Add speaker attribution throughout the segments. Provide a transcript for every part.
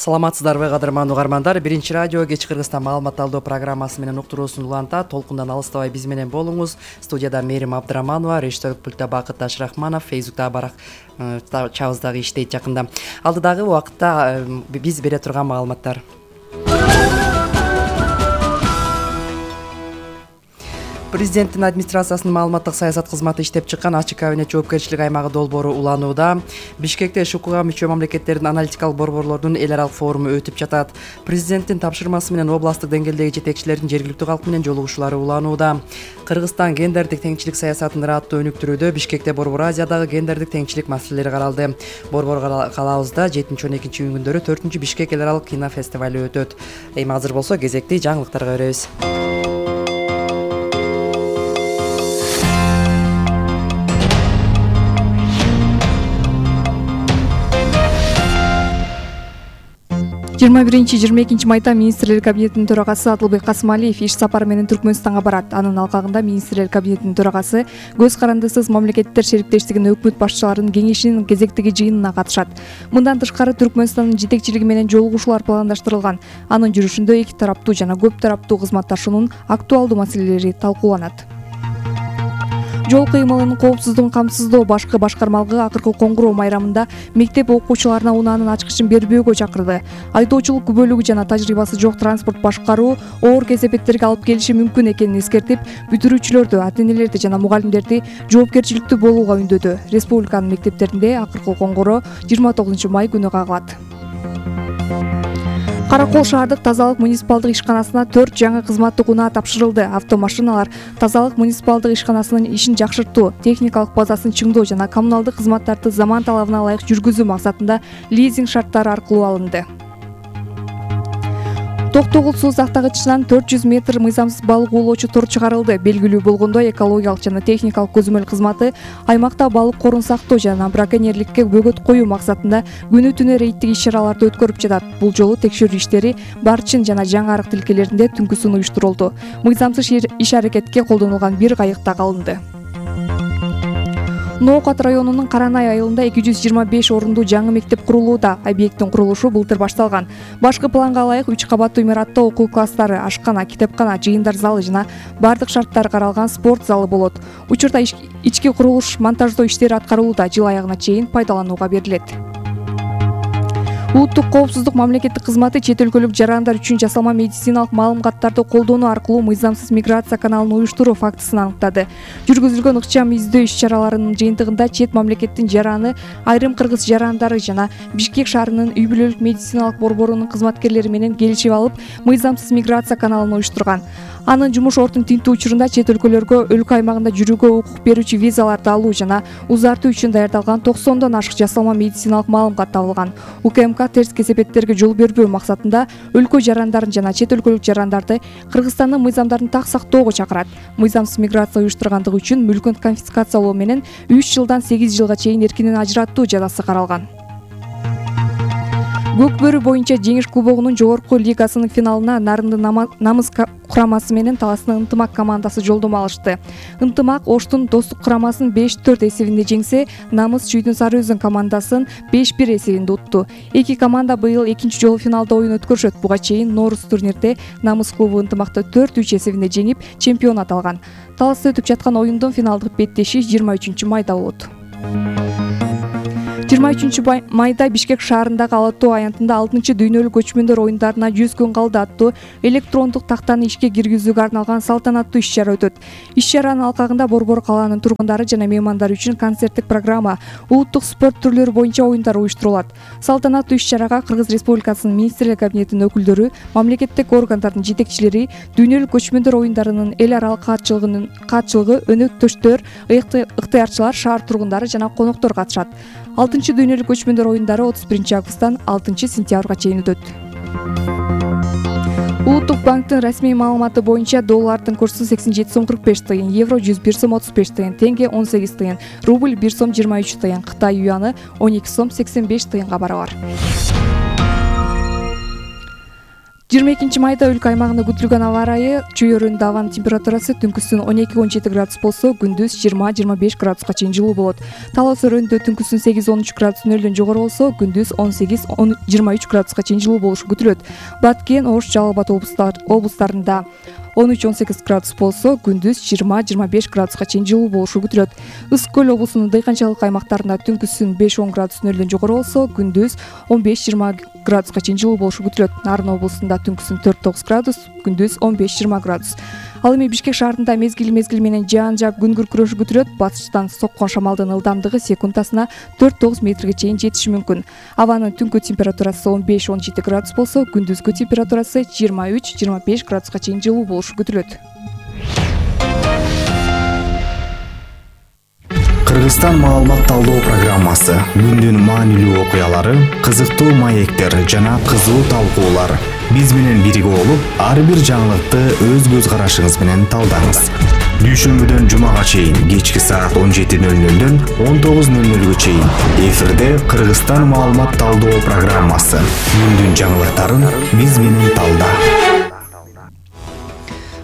Speaker 1: Саламатсыздарбы кадырман угармандар. Биринчи радио кеч Кыргызстан маалымат алуу программасы менен уктуруусун улантат. Толкундан алыстабай биз менен болуңуз. Студияда Мерим Абдыраманова, режиссерлук пультта Бакыт Ташрахманов, Фейсбукта Барак чабыздагы иштейт жакында. Алдыдагы убакытта биз бере турган маалыматтар. Президенттин администрациясынын маалыматтык саясат кызматы иштеп чыккан ачык кабинет жоопкерчилик аймагы долбоору уланууда. Бишкекте ШУКга мүчө мамлекеттердин аналитикалык борборлордун эл аралык форуму өтүп жатат. Президенттин тапшырмасы менен областтык деңгээлдеги жетекчилердин жергиликтүү калк менен жолугушуулары уланууда. Кыргызстан гендердик теңчилик саясатын ыраттуу өнүктүрүүдө. Бишкекте Борбор Азиядагы гендердик теңчилик маселелери каралды. Борбор калаабызда 7-12 күндөрү 4-Бишкек эл аралык кинофестивалю өтөт. Эми азыр болсо кезекти жаңылыктарга беребиз.
Speaker 2: 21-22 майда министрлер кабинетинин төрагасы Адылбек Касымалиев иш сапары менен Түркмөнстанга барат. Анын алкагында министрлер кабинетинин төрагасы көз карандысыз мамлекеттер шериктештигинин өкмөт башчыларынын кеңешинин кезектеги жыйынына катышат. Мындан тышкары Түркмөнстандын жетекчилиги менен жолугушуулар пландаштырылган. Анын жүрүшүндө эки тараптуу жана көп тараптуу кызматташуунун актуалдуу маселелери талкууланат. Жол кыймылынын коопсуздугун камсыздоо башкы башкармалыгы акыркы коңгуроо майрамында мектеп окуучуларына унаанын ачкычын бербөөгө чакырды. Айдоочулук күбөлүгү жана тажрыйбасы жок транспорт башкаруу оор кесепеттерге алып келиши мүмкүн экенин эскертип, бүтүрүүчүлөрдү, ата-энелерди жана мугалимдерди жоопкерчиликтүү болууга үндөдү. Республиканын мектептеринде акыркы коңгуроо 29 май күнү кагылат. Каракол шаардык тазалык муниципалдык ишканасына 4 жаңы кызматтык унаа тапшырылды. Автомашиналар тазалык муниципалдык ишканасынын ишин жакшыртуу, техникалык базасын чыңдоо жана коммуналдык кызматтарды заман талабына ылайык жүргүзүү максатында лизинг шарттары аркылуу алынды. Токтогул суу сактагычынан 400 метр мыйзамсыз балык уулоочу тор чыгарылды. Белгилүү болгондой, экологиялык жана техникалык көзөмөл кызматы аймакта балык корун сактоо жана браконьерликке бөгөт коюу максатында күнү-түнү рейдтик иш-чараларды өткөрүп жатат. Бул жолу текшерүү иштери Барчын жана Жаңы Арык тилкелеринде түнкүсүн уюштурулду. Мыйзамсыз иш-аракетке колдонулган бир кайык да калынды. Ноокат районунун Каранай айылында 225 орундуу жаңы мектеп курулууда. Объекттин курулушу былтыр башталган. Башкы планга ылайык 3 кабаттуу имаратта окуу класстары, ашкана, китепкана, жыйындар залы жана бардык шарттар каралган спорт залы болот. Учурда ички курулуш монтаждоо иштери аткарылууда. Жыл аягына чейин пайдаланууга берилет. Улуттук коопсуздук мамлекеттик кызматы чет өлкөлүк жарандар үчүн жасалма медициналык маалыматтарды колдонуу аркылуу мыйзамсыз миграция каналын уюштуруу фактысын аныктады. Жүргүзүлгөн ыкчам издөө иш-чараларынын жыйынтыгында чет мамлекеттин жараны, айрым кыргыз жарандары жана Бишкек шаарынын үй бүлөлүк медициналык борборунун кызматкерлери менен келишип алып, мыйзамсыз миграция каналын уюштурган. Анын жумуш ордун тинтүү учурунда чет өлкөлөргө өлкө аймагында жүрүүгө укук берүүчү визаларды алуу жана узартуу үчүн даярдалган 90дон ашык жасалма медициналык маалымат табылган. УКМК терс кесепеттерге жол бербөө максатында өлкө жарандарын жана чет өлкөлүк жарандарды Кыргызстандын мыйзамдарын так сактоого чакырат. Мыйзамсыз миграция уюштургандыгы үчүн мүлкүн конфискациялоо менен 3 жылдан 8 жылга чейин эркинен ажыраттуу жазасы каралган. Көкбөрү боюнча Жеңиш кубогунун жогорку лигасынын финалына Нарынды намыс курамасы менен Таластын Ынтымак командасы жолдомо алышты. Ынтымак Оштун Достук курамасын 5-4 эсебинде жеңсе, Намыс Чүйдүн Сары Өзөн командасын 5-1 эсебинде утту. Эки команда быйыл экинчи жолу финалда оюн өткөрүшөт. Буга чейин Норус турнирде Намыс клубу Ынтымакты 4-3 эсебинде жеңип, чемпион аталган. Таласта өтүп жаткан оюндун финалдык беттеши 23 майда болот. 23 майда Бишкек шаарындагы Ала Тоо аянтында 6-дүйнөлүк көчмөндөр оюндарына 100 күн калды аттуу электрондук тактаны ишке киргизүүгө арналган салтанаттуу иш-чара өтөт. Иш-чаранын алкагында Борбор калаанын тургундары жана меймандары үчүн концерттик программа, улуттук спорт түрлөрү боюнча оюндар уюштурулат. Салтанаттуу иш-чарага Кыргыз Республикасынын министрлер кабинетинин өкүлдөрү, мамлекеттик органдардын жетекчилери, дүйнөлүк көчмөндөр оюндарынын эл аралык катчылыгы, өнөктөштөр, ыктыярчылар, шаар тургундары жана коноктор катышат. 6-дүйнөлүк көчмөндөр оюндары 31 августтан 6 сентябрга чейин өтөт. Улуттук банктын расмий маалыматы боюнча доллардын курсу 87 сом 45 тыйын, евро 101 сом 35 тыйын, тенге 18 тыйын, рубль 1 сом 23 тыйын, Кытай юаны 12 сом 85 тыйынга барабар. 22 майда өлкө аймагында күтүлгөн аба ырайы чөйрөндө абанын температурасы түнкүсүн 12-17 градус болсо, күндүз 20-25 градуска чейин жылуу болот. Талас өрөөнүндө түнкүсүн 8-13 градус нөлдөн жогору болсо, күндүз 18-23 градуска чейин жылуу болушу күтүлөт. Баткен, Ош, Жалал Абад облустарында 13-18 градус болсо, күндүз 20-25 градуска чейин жылуу болушу күтүлөт. Ысык көл облусунун дыйканчылык аймактарында түнкүсүн 5-10 градус нөлдөн жогору болсо, күндүз 15-20 градуска чейин жылуу болушу күтүлөт. Нарын облусунда түнкүсүн 4-9 градус, күндүз 15-20 градус. Ал эми Бишкек шаарында мезгил менен жаан жаап күн күркүрөшү күтүлөт. Батыштан соккон шамалдын ылдамдыгы секундасына 4-9 метрге чейин жетиши мүмкүн. Абанын түнкү температурасы 15-17 градус болсо, күндүзгү температурасы 23-25 градуска чейин жылуу болушу күтүлөт.
Speaker 3: Кыргызстан маалымат талдоо программасы күндүн маанилүү окуялары, кызыктуу маектер жана кызуу талкуулар. Биз менен бирге болуп, ар бир жаңылыкты өз көз карашыңыз менен талдаңыз. Дүйшөмбүдөн жумага чейин кечки саат 17:00-дөн 19:00-га чейин эфирде Кыргызстан маалымат талдоо программасы. Күндүн жаңылыктарын биз менен талда.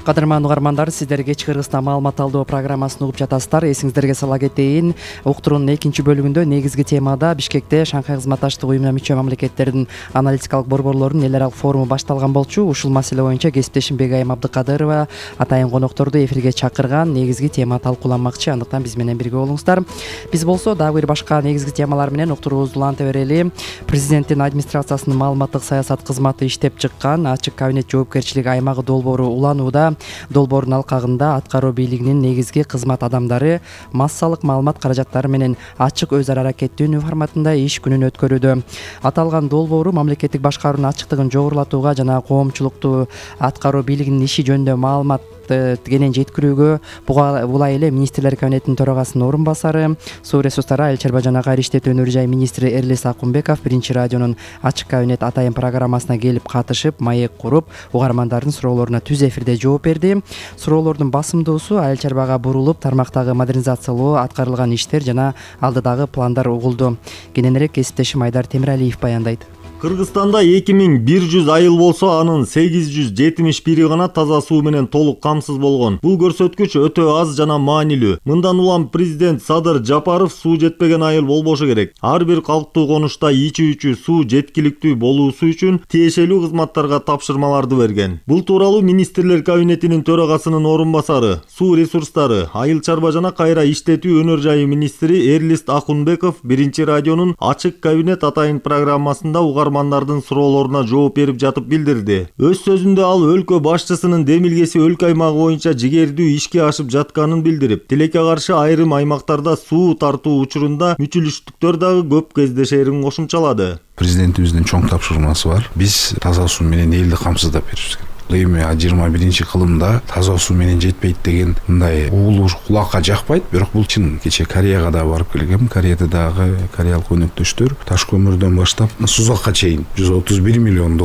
Speaker 1: Кадырман угармандар, сиздер кечки Кыргызстан маалымат талдоо программасын угуп жатасыздар. Эсиңиздерге сала кетейин, уктуруунун экинчи бөлүгүндө негизги темада Бишкекте Шанхай кызматташтык уюмуна мүчө мамлекеттердин аналитикалык борборлорунун эл аралык форуму башталган болчу. Ушул маселе боюнча кесиптешим Бегайым Абдыкадырова атайын конокторду эфирге чакырган. Негизги тема талкууланмакчы, андыктан биз менен бирге болуңуздар. Биз болсо дагы бир башка негизги темалар менен уктуруубузду уланта берели. Президенттин администрациясынын маалыматтык саясат кызматы иштеп чыккан ачык кабинет жоопкерчилиги аймагы долбоору уланууда. Долбоордун алкагында аткаруу бийлигинин негизги кызмат адамдары массалык маалымат каражаттары менен ачык өз ара аракеттөнүү форматында иш күнүн өткөрүүдө. Аталган долбоору мамлекеттик башкаруунун ачыктыгын жогорулатууга жана коомчулукту аткаруу бийлигинин иши жөнүндө маалымат кенен жеткирүүгө булай эле министрлер кабинетинин төрагасынын орун басары, суу ресурстары, айыл чарба жана кайра иштетүү өнөр жай министри Эрлис Акунбеков биринчи радионун ачык кабинет атайын программасына келип катышып, маек куруп, угармандардын суроолоруна түз эфирде жооп берди. Суроолордун басымдуусу айыл чарбага бурулуп, тармактагы модернизациялоо, аткарылган иштер жана алдыдагы пландар угулду. Кененирээк кесиптешим Айдар Темиралиев баяндайт.
Speaker 4: Кыргызстанда 2100 айыл болсо, анын 871 гана таза суу менен толук камсыз болгон. Бул көрсөткүч өтө аз жана маанилүү. Мындан улам президент Садыр Жапаров суу жетпеген айыл болбошу керек. Ар бир калктуу конушта ичүүчү суу жеткиликтүү болуусу үчүн тиешелүү кызматтарга тапшырмаларды берген. Бул тууралуу министрлер кабинетинин төрагасынын орун басары, суу ресурстары, айыл чарба жана кайра иштетүү өнөр жайы министри Эрлис Акунбеков биринчи радионун ачык кабинет атайын программасында угармандардын суроолоруна жооп берип жатып билдирди. Өз сөзүндө ал өлкө башчысынын демилгеси өлкө аймагы боюнча жигердүү ишке ашып жатканын билдирип, тилекке каршы айрым аймактарда суу тартуу учурунда мүчүлүштүктөр дагы көп кездешерин кошумчалады.
Speaker 5: Президентибиздин чоң тапшырмасы бар. Биз таза суу менен элди камсыздап беришибиз керек. Эми 21-кылымда таза суу менен жетпейт деген мындай угулуу кулакка жакпайт, бирок бул чын. Кече Кореяга да барып келгем. Кореяда дагы кореялык өнөктөштөр таш көмүрдөн баштап Сузакка чейин $131 миллион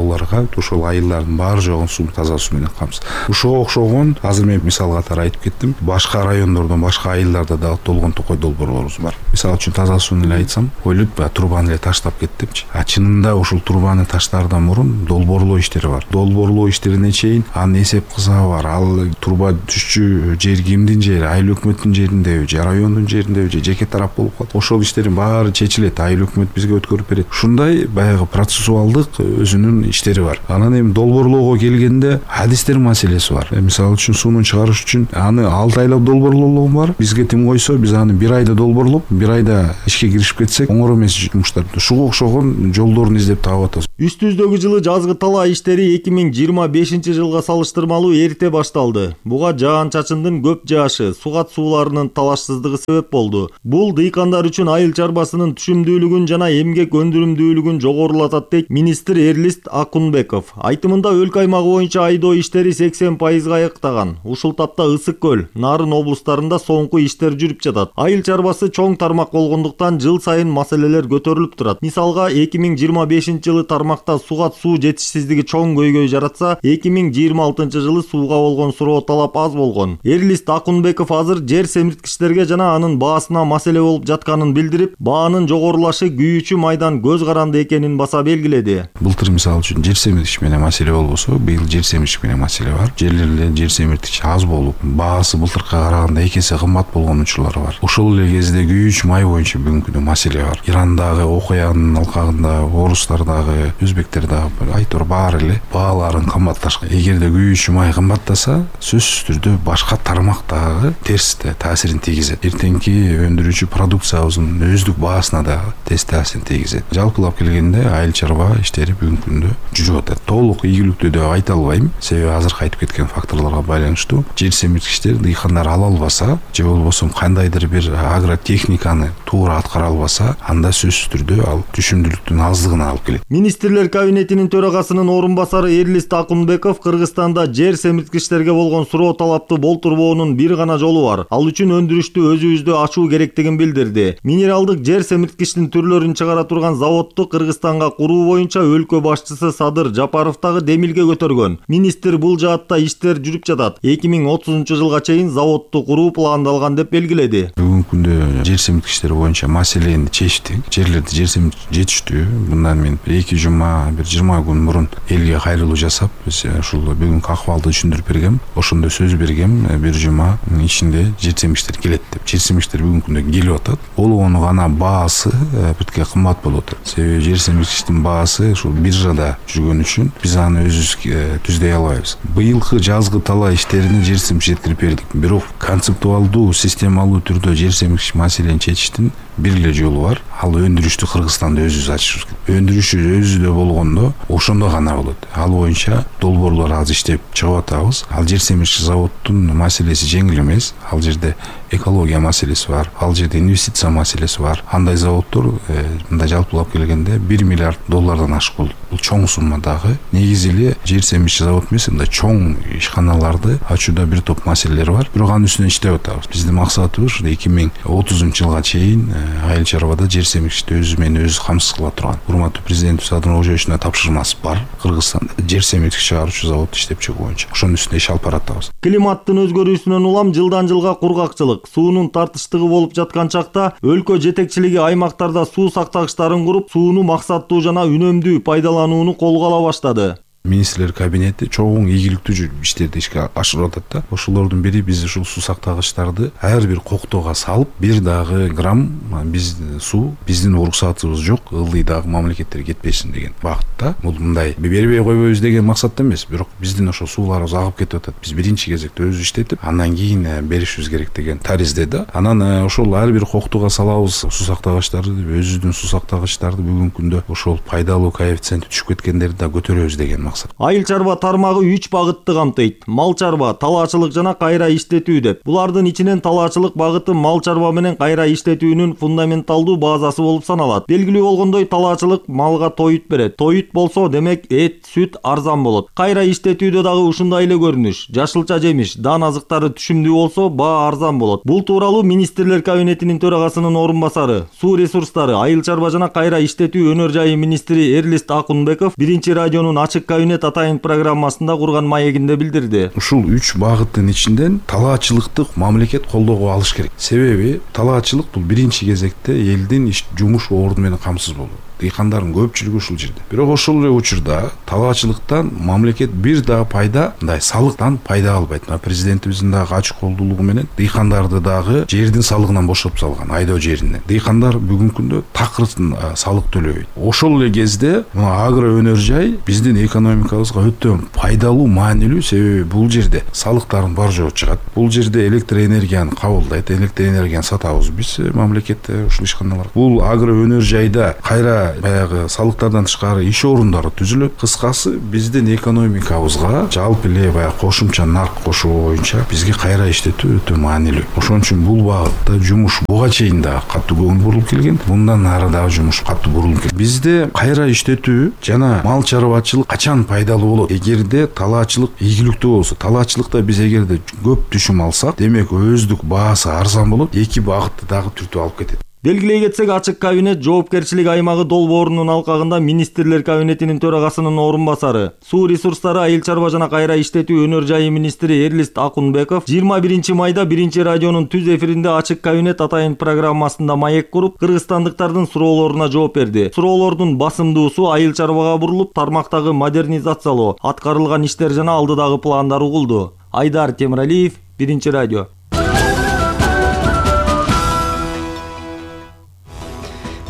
Speaker 5: ушул айылдардын баары жогун суу таза суу менен камсыз. Ушуга окшогон азыр мен мисал катары айтып кеттим. Башка райондордон, башка айылдарда дагы толгон токой долбоорлорубуз бар. Мисалы үчүн таза сууну эле айтсам, ойлойт трубаны эле таштап кеттимчи. Чынында ушул трубаны таштаардан мурун долбоорлоо иштери бар. Долбоорлоо иштерине чейин анын эсеп кызабы бар. Ал труба түшчү жер кимдин жери, айыл өкмөттүн жериндеби же райондун жериндеби же жеке тарап болуп калат. Ошол иштердин баары чечилет, айыл өкмөт бизге өткөрүп берет. Ушундай баягы процессуалдык өзүнүн иштери бар. Анан эми долбоорлоого келгенде адистер маселеси бар. Мисалы үчүн сууну чыгарыш үчүн аны 6 айлап долбоорлоо бар. Бизге тим койсо, биз аны 1 айда долбоорлоп, 1 айда ишке киришип кетсек, оңор эмес жумуштар. Ушуга окшогон жолдорун издеп таап атабыз.
Speaker 4: Үстүбүздөгү жылы жазгы талаа иштери 2025 жылга салыштырмалуу эрте башталды. Буга жаан-чачындын көп жаашы, сугат сууларынын талашсыздыгы себеп болду. Бул дыйкандар үчүн айыл чарбасынын түшүмдүүлүгүн жана эмгек өндүрүмдүүлүгүн жогорулатат дейт министр Эрлис Акунбеков. Айтымында өлкө аймагы боюнча айдоо иштери 80% аяктаган. Ушул тапта Ысык көл, Нарын облустарында соңку иштер жүрүп жатат. Айыл чарбасы чоң тармак болгондуктан жыл сайын маселелер көтөрүлүп турат. Мисалга 2025 жылы тармакта сугат суу жетишсиздиги чоң көйгөй жаратса, 2026-жылы сууга болгон суроо талап аз болгон. Эрлист Акунбеков азыр жер семирткичтерге жана анын баасына маселе болуп жатканын билдирип, баанын жогорулашы күйүүчү майдан көз каранды экенин баса белгиледи.
Speaker 5: Былтыр мисалы үчүн жер семирткич менен маселе болбосо, быйыл жер семирткич менен маселе бар. Жерлерде жер семирткич аз болуп, баасы былтыркыга караганда 2 эсе кымбат болгон учурлар бар. Ошол эле кезде күйүүчү май боюнча бүгүнкү күндө маселе бар. Ирандагы окуянын алкагында орустардагы, өзбектердагы айтор баары эле бааларын кымбатташкан. Эгерде күйүүчү май кымбаттаса, сөзсүз түрдө башка тармактагы терс таасирин тийгизет. Эртеңки өндүрүүчү продукциябыздын өздүк баасына да терс таасирин тийгизет. Жалпылап келгенде айыл чарба иштери бүгүнкү күндө жүрүп атат. Толук ийгиликтүү деп айта албайм, себеби азыркы айтып кеткен факторлорго байланыштуу. Жер семирткичтер дыйкандар ала албаса, же болбосо кандайдыр бир агротехниканы туура аткара албаса, анда сөзсүз түрдө ал түшүмдүүлүктүн аздыгына алып келет.
Speaker 4: Министрлер кабинетинин төрагасынын орун басары Эрлист Акунбеков Кыргызстанда жер семирткичтерге болгон суроо талапты болтурбоонун бир гана жолу бар. Ал үчүн өндүрүштү өзүбүздө ачуу керектигин билдирди. Минералдык жер семирткичтин түрлөрүн чыгара турган заводду Кыргызстанга куруу боюнча өлкө башчысы Садыр Жапаров дагы демилге көтөргөн. Министр бул жаатта иштер жүрүп жатат. 2030-жылга чейин заводду куруу пландалган деп белгиледи.
Speaker 5: Бүгүнкү күндө жер семирткичтер боюнча маселени чечтик. Жерлерди жер семирткич жетиштүү. Мындан мен 2 жума, 20 күн мурун элге кайрылуу жасап, биз ушул бүгүнкү акыбалды түшүндүрүп бергем. Ошондо сөз бергем, 1 жума ичинде жер семирткичтер келет деп. Жер семирткичтер бүгүнкү күндө келип атат. Болгону гана баасы битке кымбат болуп атат. Себеби жер семирткичтин баасы ушул биржада жүргөн үчүн биз аны өзүбүз түздөй албайбыз. Быйылкы жазгы талаа иштерине жер семирткич жеткирип бердик. Бирок концептуалдуу, системалуу түрдө жер семирткич маселени чечиштин бир эле жолу бар. Ал өндүрүштү Кыргызстанда өзүбүз ачышыбыз керек. Өндүрүшү өзүдө болгондо ошондо гана болот. Ал боюнча долбоорлор азыр иштеп чыгып атабыз. Ал жер семирткич заводдун маселеси жеңил эмес. Ал жерде экология маселеси бар, ал жерде инвестиция маселеси бар. Андай заводдор мындай жалпылап келгенде $1 миллиард ашык болду. Бул чоң сумма дагы. Негизи эле жер семирткич завод эмес, мындай чоң ишканаларды ачууда бир топ маселелер бар. Бирок анын үстүнөн иштеп атабыз. Биздин максатыбыз 2030-жылга чейин айыл чарбада жер семирткичти өзү менен өзү камсыз кыла турган. Урматтуу президентибиз Садыр Ожоевичтин тапшырмасы бар. Кыргызстанда жер семирткич чыгаруучу завод иштеп чыгуу боюнча. Ошонун үстүнө иш алып баратабыз.
Speaker 4: Климаттын өзгөрүүсүнөн улам жылдан жылга кургакчылык, суунун тартыштыгы болуп жаткан чакта өлкө жетекчилиги аймактарда суу сактагычтарын куруп, сууну максаттуу жана үнөмдүү пайдаланууну колго ала баштады.
Speaker 5: Министрлер кабинети чоң ийгиликтүү иштерди ишке ашырып атат да. Ошолордун бири биз ушул суу сактагычтарды ар бир коктоого салып, бир дагы грамм суу биздин уруксатыбыз жок, ылдый дагы мамлекеттерге кетпесин деген багытта. Бул мындай бербей койбойбуз деген максатта эмес, бирок биздин ошол сууларыбыз агып кетип атат. Биз биринчи кезекте өзү иштетип, андан кийин беришибиз керек деген таризде да. Анан ошол ар бир коктоого салабыз суу сактагычтарды, өзүбүздүн суу сактагычтарды бүгүнкү күндө ошол пайдалуу коэффициенти түшүп кеткендерди да көтөрөбүз деген.
Speaker 4: Айыл чарба тармагы 3 багытты камтыйт: мал чарба, талаачылык жана кайра иштетүү деп. Булардын ичинен талаачылык багыты мал чарба менен кайра иштетүүнүн фундаменталдуу базасы болуп саналат. Белгилүү болгондой, талаачылык малга тоют берет. Тоют болсо, демек эт, сүт арзан болот. Кайра иштетүүдө дагы ушундай эле көрүнүш. Жашылча жемиш, дан азыктары түшүмдүү болсо, баа арзан болот. Бул тууралуу Министрлер кабинетинин төрагасынын орун басары, суу ресурстары, айыл чарба жана кайра иштетүү өнөр жайы министри Эрлист Акунбеков биринчи радионун ачык кабинет атайын программасында курган маегинде билдирди.
Speaker 5: Ушул 3 багыттын ичинден талаачылыкты мамлекет колдоого алыш керек. Себеби талаачылык бул биринчи кезекте элдин жумуш орду менен камсыз болот. Дыйкандардын көпчүлүгү ушул жерде. Бирок ошол эле учурда талаачылыктан мамлекет бир дагы пайда, мындай салыктан пайда албайт. Президентибиздин дагы ачык колдуулугу менен дыйкандарды дагы жердин салыгынан бошотуп салган, айдоо жеринен. Дыйкандар бүгүнкү күндө такыр салык төлөбөйт. Ошол эле кезде агро өнөр жай биздин экономикабызга өтө пайдалуу, маанилүү, себеби бул жерде салыктардын бар жогу чыгат. Бул жерде электр энергияны кабылдайт, электр энергияны сатабыз биз мамлекетте ушул ишканалар. Бул агро өнөр жайда кайра баягы салыктардан тышкары иш орундары түзүлөт. Кыскасы, биздин экономикабызга жалпы эле баягы кошумча нарк кошуу боюнча бизге кайра иштетүү өтө маанилүү. Ошон үчүн бул багытта жумуш буга чейин да катуу көңүл бурулуп келген. Мындан ары дагы жумуш катуу бурулуп келет. Бизде кайра иштетүү жана мал чарбачылык качан пайдалуу болот? Эгерде талаачылык ийгиликтүү болсо, талаачылыкта биз эгерде көп түшүм алсак, демек өздүк баасы арзан болот. Эки багытты дагы түртүп алып кетет.
Speaker 4: Белгилей кетсек, ачык кабинет жоопкерчилик аймагы долбоорунун алкагында министрлер кабинетинин төрагасынын орун басары, суу ресурстары, айыл чарба жана кайра иштетүү өнөр жайы министри Эрлист Акунбеков 21 майда 1 радионун түз эфиринде ачык кабинет атайын программасында маек куруп, кыргызстандыктардын суроолоруна жооп берди. Суроолордун басымдуусу айыл чарбага бурулуп, тармактагы модернизациялоо, аткарылган иштер жана алдыдагы пландар угулду. Айдар Темиралиев, 1 радио.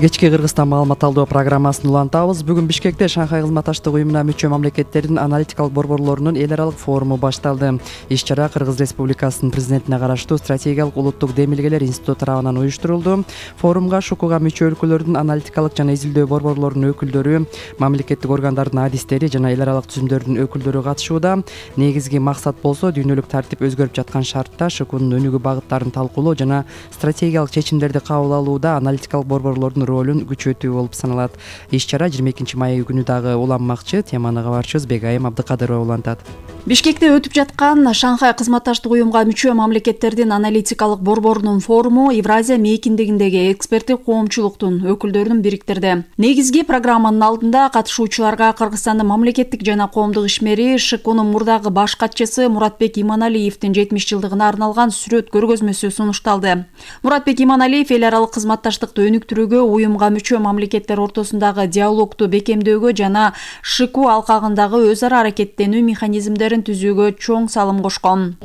Speaker 1: Кечки Кыргызстан маалымат алуу программасын улантабыз. Бүгүн Бишкекте Шанхай кызматташтык уюмуна мүчө мамлекеттердин аналитикалык борборлорунун эл аралык форуму башталды. Иш-чара Кыргыз Республикасынын президентине караштуу стратегиялык улуттук демилгелер институту тарабынан уюштурулду. Форумга ШУКУга мүчө өлкөлөрдүн аналитикалык жана изилдөө борборлорунун өкүлдөрү, мамлекеттик органдардын адистери жана эл аралык түзүмдөрдүн өкүлдөрү катышууда. Негизги максат болсо дүйнөлүк тартип өзгөрүп жаткан шартта ШУКУнун өнүгүү багыттарын талкуулоо жана стратегиялык чечимдерди кабыл алууда аналитикалык борборлордун ролун күчөтүү болуп саналат. Иш-чара 22 май күнү дагы уланмакчы. Теманы кабарчыбыз Бегайым Абдыкадырова улантат.
Speaker 6: Бишкекте өтүп жаткан Шанхай кызматташтык уюмга мүчө мамлекеттердин аналитикалык борборунун форуму Евразия мейкиндигиндеги эксперттик коомчулуктун өкүлдөрүн бириктирди. Негизги программанын алдында катышуучуларга Кыргызстандын мамлекеттик жана коомдук ишмери ШКУнун мурдагы баш катчысы Муратбек Иманалиевдин 70 жылдыгына арналган сүрөт көргөзмөсү сунушталды. Муратбек Иманалиев эл аралык кызматташтыкты өнүктүрүүгө, уюмга мүчө мамлекеттер ортосундагы диалогду бекемдөөгө жана ШКУ алкагындагы өз ара аракеттенүү механизмдерин түзүүгө чоң салым кошкон.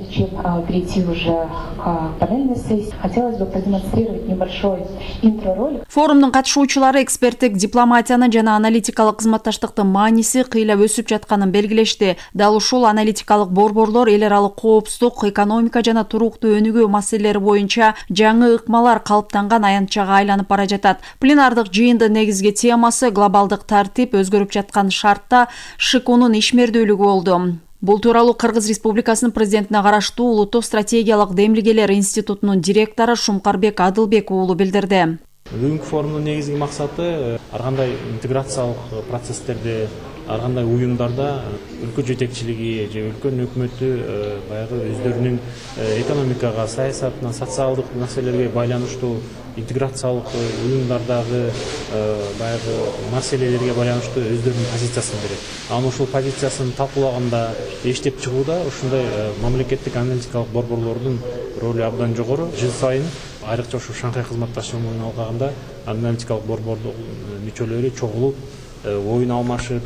Speaker 6: Форумдун катышуучулары эксперттик дипломатиянын жана аналитикалык кызматташтыктын мааниси кыйлап өсүп жатканын белгилешти. Дал ушул аналитикалык борборлор эл аралык коопсуздук, экономика жана туруктуу өнүгүү маселелери боюнча жаңы ыкмалар калыптанган аянтчага айланып бара жатат. Пленардык жыйындын негизги темасы глобалдык тартип өзгөрүп жаткан шартта ШКУнун ишмердүүлүгү болду. Бул тууралуу Кыргыз Республикасынын президентине караштуу улуттук стратегиялык демилгелер институтунун директору Шумкарбек Адылбек уулу билдирди.
Speaker 7: Бүгүнкү форумдун негизги максаты ар кандай интеграциялык процесстерди, ар кандай уюмдарда өлкө жетекчилиги же өлкөнүн өкмөтү баягы өздөрүнүн экономикага, саясатына, социалдык маселелерге байланыштуу интеграциялык уюмдардагы баягы маселелерге байланыштуу өздөрүнүн позициясын берет. Анан ушул позициясын талкуулаганда, эчтеп чыгууда ушундай мамлекеттик аналитикалык борборлордун ролу абдан жогору. Жыл сайын айрыкча ушу Шанхай кызматташтыгынын алкагында аналитикалык борбордун мүчөлөрү чогулуп, оюн алмашып,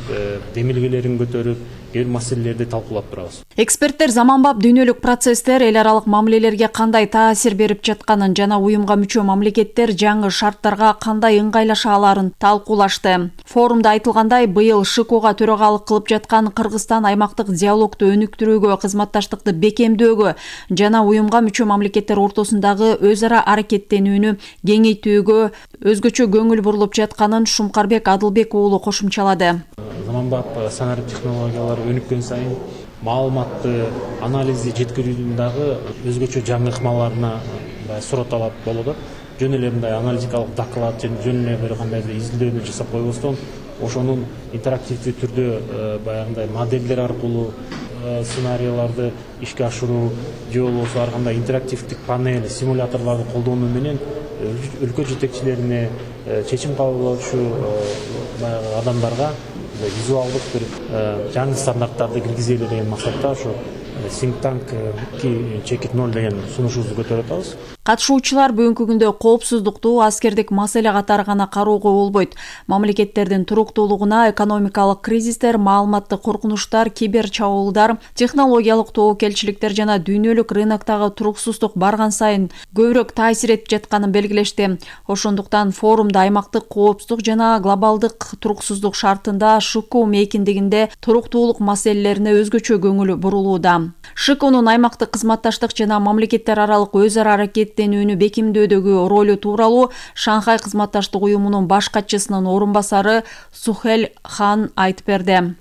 Speaker 7: демилгелерин көтөрүп, кээ бир маселелерди талкуулап турабыз.
Speaker 6: Эксперттер заманбап дүйнөлүк процесстер эл аралык мамилелерге кандай таасир берип жатканын жана уюмга мүчө мамлекеттер жаңы шарттарга кандай ыңгайлаша аларын талкуулашты. Форумда айтылгандай, быйыл ШКУга төрагалык кылып жаткан Кыргызстан аймактык диалогду өнүктүрүүгө, кызматташтыкты бекемдөөгө жана уюмга мүчө мамлекеттер ортосундагы өз ара аракеттенүүнү кеңейтүүгө өзгөчө көңүл бурулуп жатканын Шумкарбек Адылбек уулу кошумчалады.
Speaker 7: Заманбап санарип технологиялар өнүккөн сайын маалыматты анализди жеткирүүнүн дагы өзгөчө жаңы ыкмаларына сурат алат болот. Жөн эле мындай аналитикалык доклад, жөн эле бир кандайдыр изилдөөнү жасап койбостон, ошонун интерактивдүү түрдө баягындай модельдер аркылуу сценарийларды ишке ашыруу же болбосо ар кандай интерактивдик панель, симуляторлорду колдонуу менен өлкө жетекчилерине, чечим кабылдоочу баягы адамдарга визуалдык бир жаңы стандарттарды киргизели деген максатта ошо Think Tank 2.0 деген сунушубузду көтөрүп атабыз.
Speaker 6: Катышуучулар бүгүнкү күндө коопсуздукту аскердик маселе катары гана кароого болбойт. Мамлекеттердин туруктуулугуна экономикалык кризистер, маалыматтык коркунучтар, кибер чабуулдар, технологиялык тобокелчиликтер жана дүйнөлүк рыноктогу туруксуздук барган сайын көбүрөөк таасир этип жатканын белгилешти. Ошондуктан форумда аймактык коопсуздук жана глобалдык туруксуздук шартында ШКУ мейкиндигинде туруктуулук маселелерине өзгөчө көңүл бурулууда. ШКУнун аймактык кызматташтык жана мамлекеттер аралык өз ара аракеттенүүнү бекемдөөдөгү ролу тууралуу Шанхай кызматташтык уюмунун баш катчысынын орун басары Сухель Хан айтып берди.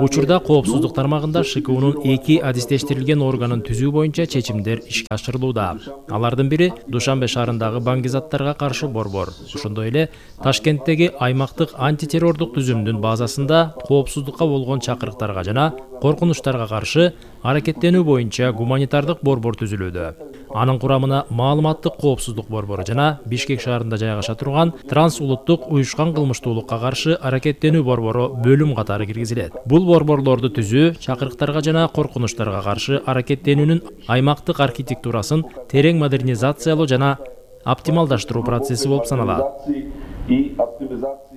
Speaker 8: Учурда коопсуздук тармагында ШКУнун 2 адистештирилген органын түзүү боюнча чечимдер ишке ашырылууда. Алардын бири Душанбе шаарындагы баңгизаттарга каршы борбор. Ошондой эле Ташкенттеги аймактык антитеррордук түзүмдүн базасында коопсуздукка болгон чакырыктарга жана коркунучтарга каршы аракеттенүү боюнча гуманитардык борбор түзүлүүдө. Анын курамына маалыматтык коопсуздук борбору жана Бишкек шаарында жайгаша турган трансулуттук уюшкан кылмыштуулукка каршы аракеттенүү борбору бөлүм катары киргизилет. Бул борборлорду түзүү чакырыктарга жана коркунучтарга каршы аракеттенүүнүн аймактык архитектурасын терең модернизациялоо жана оптималдаштыруу процесси болуп саналат.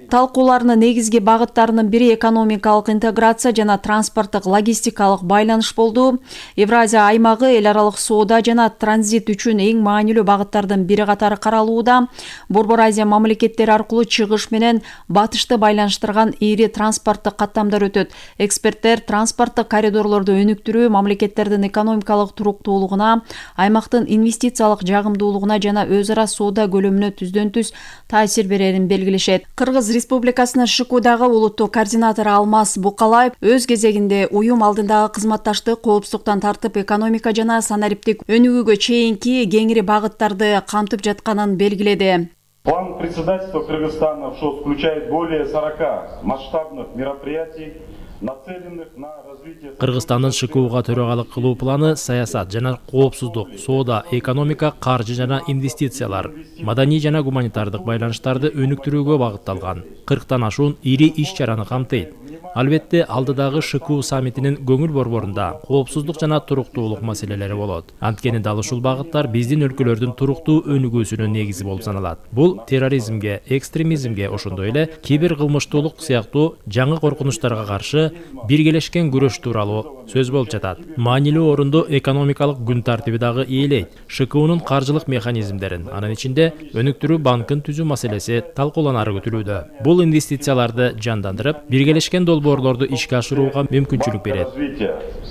Speaker 6: Талкуулардын негизги багыттарынын бири экономикалык интеграция жана транспорттук логистикалык байланыш болду. Евразия аймагы эл аралык соода жана транзит үчүн эң маанилүү багыттардын бири катары каралууда. Борбор Азия мамлекеттери аркылуу чыгыш менен батышты байланыштырган ири транспорттук каттамдар өтөт. Эксперттер транспорттук коридорлорду өнүктүрүү мамлекеттердин экономикалык туруктуулугуна, аймактын инвестициялык жагымдуулугуна жана өз ара соода көлөмүнө түздөн-түз таасир берерин белгилешет. Кыргыз Республикасынын ШКУдагы улуттук координатору Алмаз Букалаев өз кезегинде уюм алдындагы кызматташтык коопсуздуктан тартып экономика жана санариптик өнүгүүгө чейинки кеңири багыттарды камтып жатканын белгиледи.
Speaker 9: План председательства Кыргызстана включает более 40 масштабных мероприятий, нацеленных на развитие.
Speaker 8: Кыргызстандын ШКУга төрагалык кылуу планы саясат жана коопсуздук, соода, экономика, каржы жана инвестициялар, маданий жана гуманитардык байланыштарды өнүктүрүүгө багытталган 40тан ашуун ири иш-чараны камтыйт. Албетте, алдыдагы ШКУ саммитинин көңүл борборунда коопсуздук жана туруктуулук маселелери болот. Анткени дал ушул багыттар биздин өлкөлөрдүн туруктуу өнүгүүсүнүн негизи болуп саналат. Бул терроризмге, экстремизмге, ошондой эле кибер кылмыштуулук сыяктуу жаңы коркунучтарга каршы биргелешкен күрөш тууралуу сөз болуп жатат. Маанилүү орунду экономикалык күн тартиби дагы ээлейт. ШКУнун каржылык механизмдерин, анын ичинде өнүктүрүү банкын түзүү маселеси талкууланары күтүлүүдө. Бул инвестицияларды жандандырып, биргелешкен долбоорлорду ишке ашырууга мүмкүнчүлүк берет.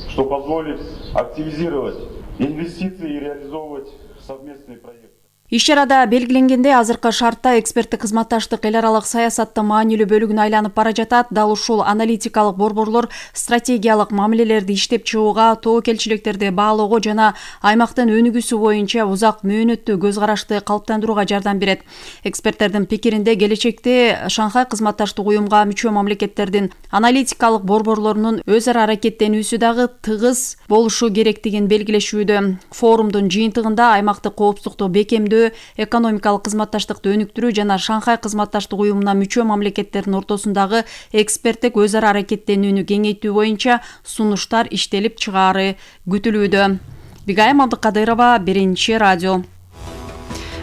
Speaker 9: Что позволит активизировать инвестиции и реализовывать совместные проекты.
Speaker 6: Иш-чарада белгиленгендей, азыркы шартта эксперттик кызматташтык эл аралык саясаттын маанилүү бөлүгүнө айланып бара жатат. Дал ушул аналитикалык борборлор стратегиялык мамилелерди иштеп чыгууга, тобокелчиликтерди баалоого жана аймактын өнүгүүсү боюнча узак мөөнөттүү көз карашты калыптандырууга жардам берет. Эксперттердин пикиринде, келечекте Шанхай кызматташтык уюмга мүчө мамлекеттердин аналитикалык борборлорунун өз ара аракеттенүүсү дагы тыгыз болушу керектигин белгилешүүдө. Форумдун жыйынтыгында аймактык коопсуздукту бекемдөө, экономикалык кызматташтыкты өнүктүрүү жана Шанхай кызматташтык уюмуна мүчө мамлекеттердин ортосундагы эксперттик өз ара аракеттенүүнү кеңейтүү боюнча сунуштар иштелип чыгаары күтүлүүдө. Бигайым Абдыкадырова, Биринчи радио.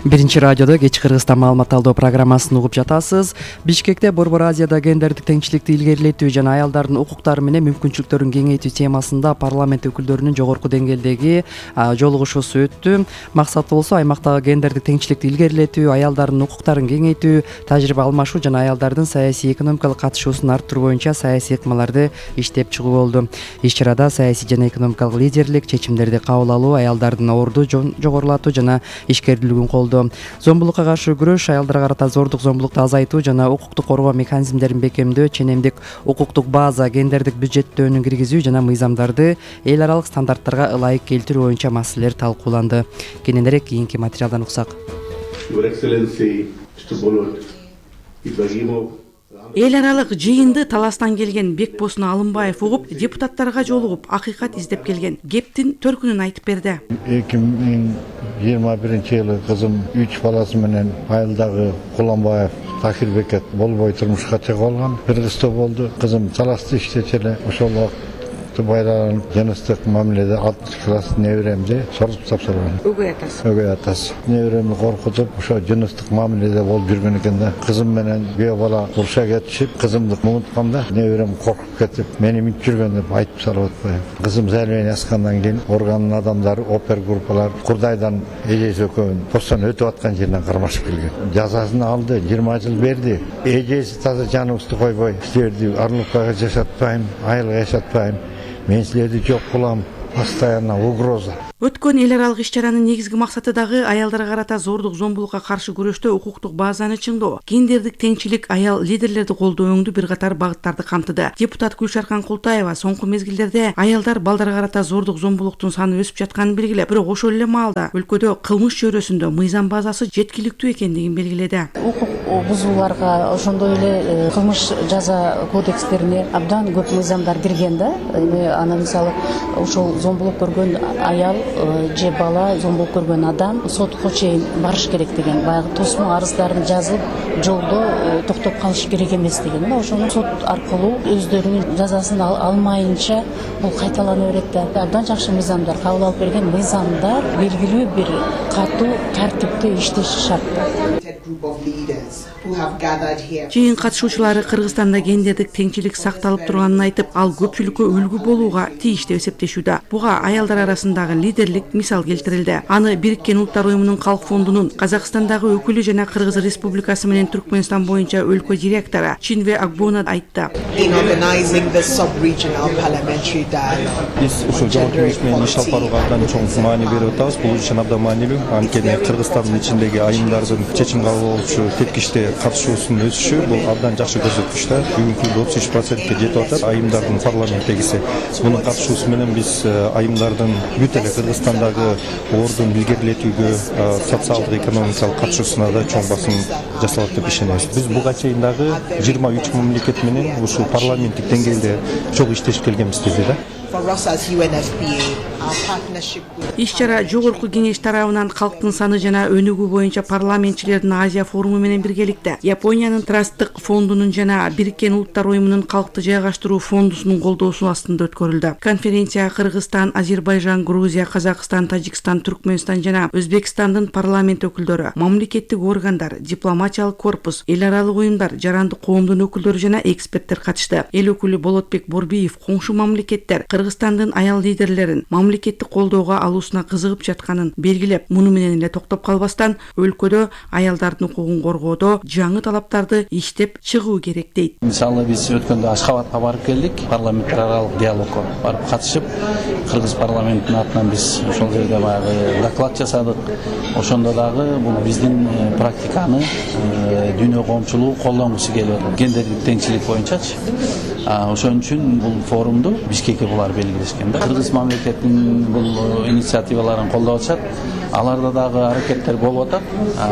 Speaker 1: Биринчи радиодо кечки Кыргызстан маалымат талдоо программасын угуп жатасыз. Бишкекте Борбор Азияда гендердик теңчиликти илгерилетүү жана аялдардын укуктары менен мүмкүнчүлүктөрүн кеңейтүү темасында парламент өкүлдөрүнүн жогорку деңгээлдеги жолугушуусу өттү. Максаты болсо аймактагы гендердик теңчиликти илгерилетүү, аялдардын укуктарын кеңейтүү, тажрыйба алмашуу жана аялдардын саясий экономикалык катышуусун арттыруу боюнча саясий ыкмаларды иштеп чыгуу болду. Иш-чарада саясий жана экономикалык лидерлик, чечимдерди кабыл алуу, аялдардын орду жогорулатуу жана ишкердүүлүгүн колдоо, зомбулукка каршы күрөш, аялдарга карата зордук зомбулукту азайтуу жана укуктук коргоо механизмдерин бекемдөө, ченемдик укуктук база, гендердик бюджеттөөнү киргизүү жана мыйзамдарды эл аралык стандарттарга ылайык келтирүү боюнча маселелер талкууланды. Кененирээк кийинки материалдан уксак.
Speaker 10: Эл аралык жыйынды таластан келген Бекбосын Алымбаев угуп, депутаттарга жолугуп, акыйкат издеп келген. Кептин төркүнүн айтып берди.
Speaker 11: 2021-жылы кызым 3 баласы менен айылдагы Куланбаев Такирбекет болбой турмушка чыгып алган. Бир кызды болду. Кызым талашты иштечү эле. Ошол байланып жыныстык мамиледе 6 класс неберемди сордуп тапшырган. Өгөй атасы. Неберемди коркутуп, ошо жыныстык мамиледе болуп жүргөн экен да. Кызым менен күйөө бала уруша кетишип, кызымды унутканда, неберем коркуп кетип, мени минтип жүргөн деп айтып салып атпайбы. Кызым зәлмен аскандан кийин органдын адамдары, опер группалар Курдайдан эжеси экөөнү постон өтүп аткан жеринен кармашып келген. Жазасын алды, 20 жыл берди. Эжеси таза жаныбызды койбой, силерди Арлыкпайга жашатпайм, айылга жашатпайм. Мен силерди жок кылам, постоянно угроза.
Speaker 10: Өткөн эл аралык иш-чаранын негизги максаты дагы аялдарга карата зордук зомбулукка каршы күрөштө укуктук базаны чыңдоо, гендердик теңчилик, аял лидерлерди колдоо өңдүү бир катар багыттарды камтыды. Депутат Гүлшаркан Култаева соңку мезгилдерде аялдар балдарга карата зордук зомбулуктун саны өсүп жатканын белгилеп, бирок ошол эле маалда өлкөдө кылмыш чөйрөсүндө мыйзам базасы жеткиликтүү экендигин белгиледи.
Speaker 12: Укук бузууларга, ошондой эле кылмыш жаза кодекстерине абдан көп мыйзамдар кирген да. Анан мисалы ошол зомбулук көргөн аял же бала зомбулук көргөн адам сотко чейин барыш керек деген, баягы тосмо арыздарын жазып жолдо токтоп калыш керек эмес деген да. Ошону сот аркылуу өздөрүнүн жазасын алмайынча бул кайталана берет да. Абдан жакшы мыйзамдар кабыл алып берген, мыйзамдар белгилүү бир катуу тартипте иштеши шарт.
Speaker 10: Жыйын катышуучулары Кыргызстанда гендердик теңчилик сакталып турганын айтып, ал көпчүлүккө үлгү болууга тийиш деп эсептешүүдө. Буга аялдар арасындагы лидерлик мисал келтирилди. Аны Бириккен Улуттар уюмунун Калк фондунун Казакстандагы өкүлү жана Кыргыз Республикасы менен Түркмөнстан боюнча өлкө директору Чинве Акбона айтты.
Speaker 13: Биз ушул жогорку кеңеш менен иш алып барууга абдан чоң маани берип атабыз. Бул үчүн абдан маанилүү. Анткени Кыргызстандын ичиндеги айымдардын чечим кабыл алуучу тепкичте катышуусунун өсүшү бул абдан жакшы көрсөткүч да. Бүгүнкү күндө 33%ке жетип атат айымдардын парламенттегиси. Мунун катышуусу менен биз айымдардын бүт эле Кыргызстандагы ордун илгерилетүүгө, социалдык экономикалык катышуусуна да чоң басым жасалат деп ишенебиз. Биз буга чейин дагы 23 мамлекет менен ушул парламенттик деңгээлде чоң иштешип келгенбиз деди да.
Speaker 10: Иш-чара жогорку кеңеш тарабынан калктын саны жана өнүгүү боюнча парламентчилердин Азия форуму менен биргеликте Япониянын Трасттык фондунун жана Бириккен Улуттар уюмунун калкты жайгаштыруу фондусунун колдоосу астында өткөрүлдү. Конференцияга Кыргызстан, Азербайжан, Грузия, Казакстан, Тажикстан, Түркмөнстан жана Өзбекстандын парламент өкүлдөрү, мамлекеттик органдар, дипломатиялык корпус, эл аралык уюмдар, жарандык коомдун өкүлдөрү жана эксперттер катышты. Эл өкүлү Болотбек Борбиев коңшу мамлекеттер Кыргызстандын аял лидерлерин мамлекеттик колдоого алуусуна кызыгып жатканын белгилеп, муну менен эле токтоп калбастан, өлкөдө аялдардын укугун коргоодо жаңы талаптарды иштеп чыгуу керек дейт.
Speaker 14: Мисалы биз өткөндө Ашхабадка барып келдик, парламенттер аралык диалогко барып катышып, Кыргыз парламентинин атынан биз ошол жерде баягы доклад жасадык. Ошондо дагы бул биздин практиканы дүйнө коомчулугу колдонгусу келип атат. Гендердик теңчилик боюнчачы. Ошон үчүн бул форумду Бишкекке булар белгилешкен да. Кыргыз мамлекетинин бул инициативаларын колдоп атышат. Аларда дагы аракеттер болуп атат.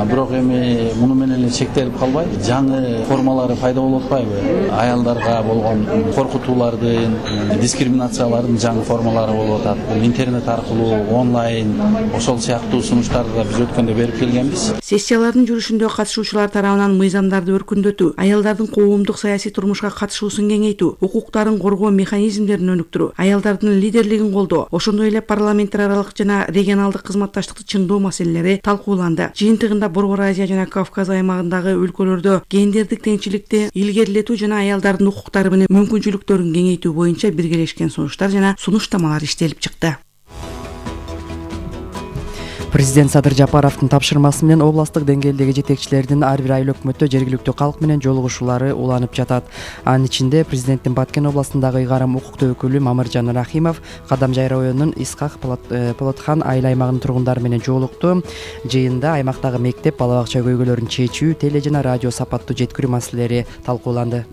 Speaker 14: Бирок эми муну менен эле чектелип калбай, жаңы формалары пайда болуп атпайбы? Аялдарга болгон коркутуулардын, дискриминациялардын жаңы формалары болуп атат. Бул интернет аркылуу, онлайн, ошол сыяктуу сунуштарды да биз өткөндө берип келгенбиз.
Speaker 10: Сессиялардын жүрүшүндө катышуучулар тарабынан мыйзамдарды өркүндөтүү, аялдардын коомдук саясий турмушка катышуусун кеңейтүү, укуктарын коргоо механизмдерин өнүктүрүү, аялдардын лидерлигин колдоо, ошондой эле парламенттер аралык жана регионалдык кызматташтыкты чыңдоо маселелери талкууланды. Жыйынтыгында Борбор Азия жана Кавказ аймагындагы өлкөлөрдө гендердик теңчиликти илгерилетүү жана аялдардын укуктары менен мүмкүнчүлүктөрүн кеңейтүү боюнча биргелешкен сунуштар жана сунуштамалар иштелип чыкты.
Speaker 1: Президент Садыр Жапаровдун тапшырмасы менен областтык деңгээлдеги жетекчилердин ар бир айыл өкмөттө жергиликтүү калк менен жолугушуулары уланып жатат. Анын ичинде президенттин Баткен областындагы ыйгарым укуктуу өкүлү Мамыржан Рахимов Кадамжай районунун Исхак Полотхан айыл аймагынын тургундары менен жолукту. Жыйында аймактагы мектеп, бала бакча көйгөйлөрүн чечүү, теле жана радио сапаттуу жеткирүү маселелери талкууланды.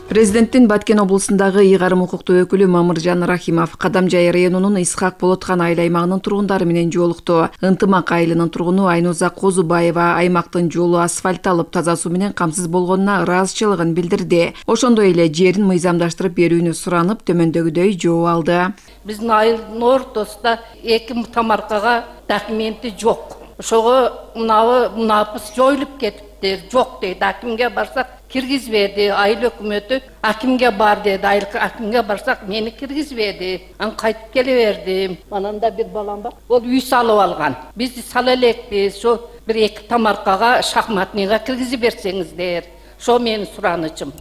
Speaker 2: Президенттин Баткен облусундагы ыйгарым укуктуу өкүлү Мамыржан Рахимов Кадамжай районунун Исхак Полотхан айыл аймагынын тургундары менен жолукту. Ынтымак айылынын тургуну Айнуза Козубаева аймактын жолу асфальтталып, таза суу менен камсыз болгонуна ыраазычылыгын билдирди. Ошондой эле жерин мыйзамдаштырып берүүнү суранып, төмөндөгүдөй жооп алды.
Speaker 15: Биздин айылдын ортосунда 2 тамаркага документи жок. Ошого мунапыс жоюлуп кетиптир, жок дейт. Акимге барсак киргизбеди, айыл өкмөтү акимге бар деди, акимге барсак мени киргизбеди. Ан кайтып келе бердим. Ананда бир балам бар, ол үй салып алган. Биз сала элекпиз, ошо бир 2 тамаркага шахматныйга киргизип берсеңиздер. Ошо менин суранычым.